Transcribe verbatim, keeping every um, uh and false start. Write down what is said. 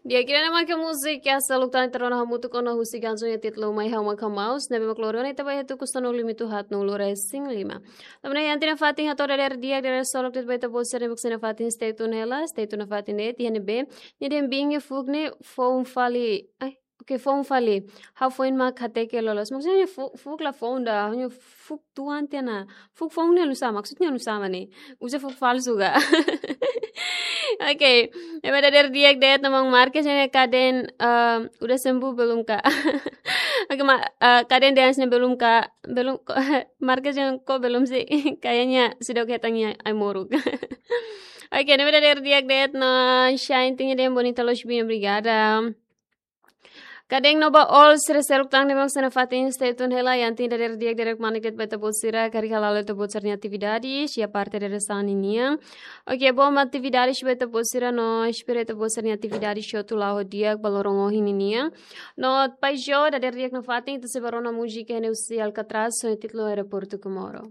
Di'ak, ida-ne'e mak múzika seluk tan ita rona hamutuk ona husi kansaun nia títulu Mai Ha'u Mak Hamaus, ne'ebé mak lorona ita ba iha tuku sanulu-lima-nulu-haat-nulu-resin-lima. Tanba ne'e iha ita-nia fatin hato'o dadeer di'ak, dadeer solok de'it ba ita-boot sira ne'ebé mak sei iha fatin, stay tune hela, stay tune nafatin de'it, iha ne'ebé nia dehan biin nia fuuk ne'e foun fali. Ai, oke, foun fali. Ha'u foin mak hateke loloos. Maksudnya fu-, fuuk la foun ida, hanya fuuk tuan tiha ona. Fuuk foun ne'e oinsá, maksudnya oinsá mak ne'e. Uza fuuk falsu ka? Oke, ne'ebé dadeer di'ak de'it namanya Marques ne'e kaden, ehm, udah sembuh belum, Kak? Oke, ma-, eh, kaden dehan ne'e belum, Kak. Belum, ko-, Marques dehan kok belum sih? Kayaknya sudah kehitangannya ai-moruk. Oke, ne'ebé dadeer di'ak de'it no Shine Ting dehan bonita loos biin, obrigada. Kaden no ba all sira seluk tan ne'ebé mak sei iha fatin, stay tune hela, iha ita-nia dadeer di'ak, dadeer kmanek de'it ba ita-boot sira, karik hala'o ita-boot sira-nia atividade, iha parte dadeer-saan ninian. Oke, bom atividade ba ita-boot sira no espera ita-boot sira-nia atividade hotu la'o ho di'ak ba loron ohin ninian. No Paijo, dadeer di'ak nafatin, ita sei ba rona múzika ne'e husi Alcatraz, ho títulu Aeroportu Comoro.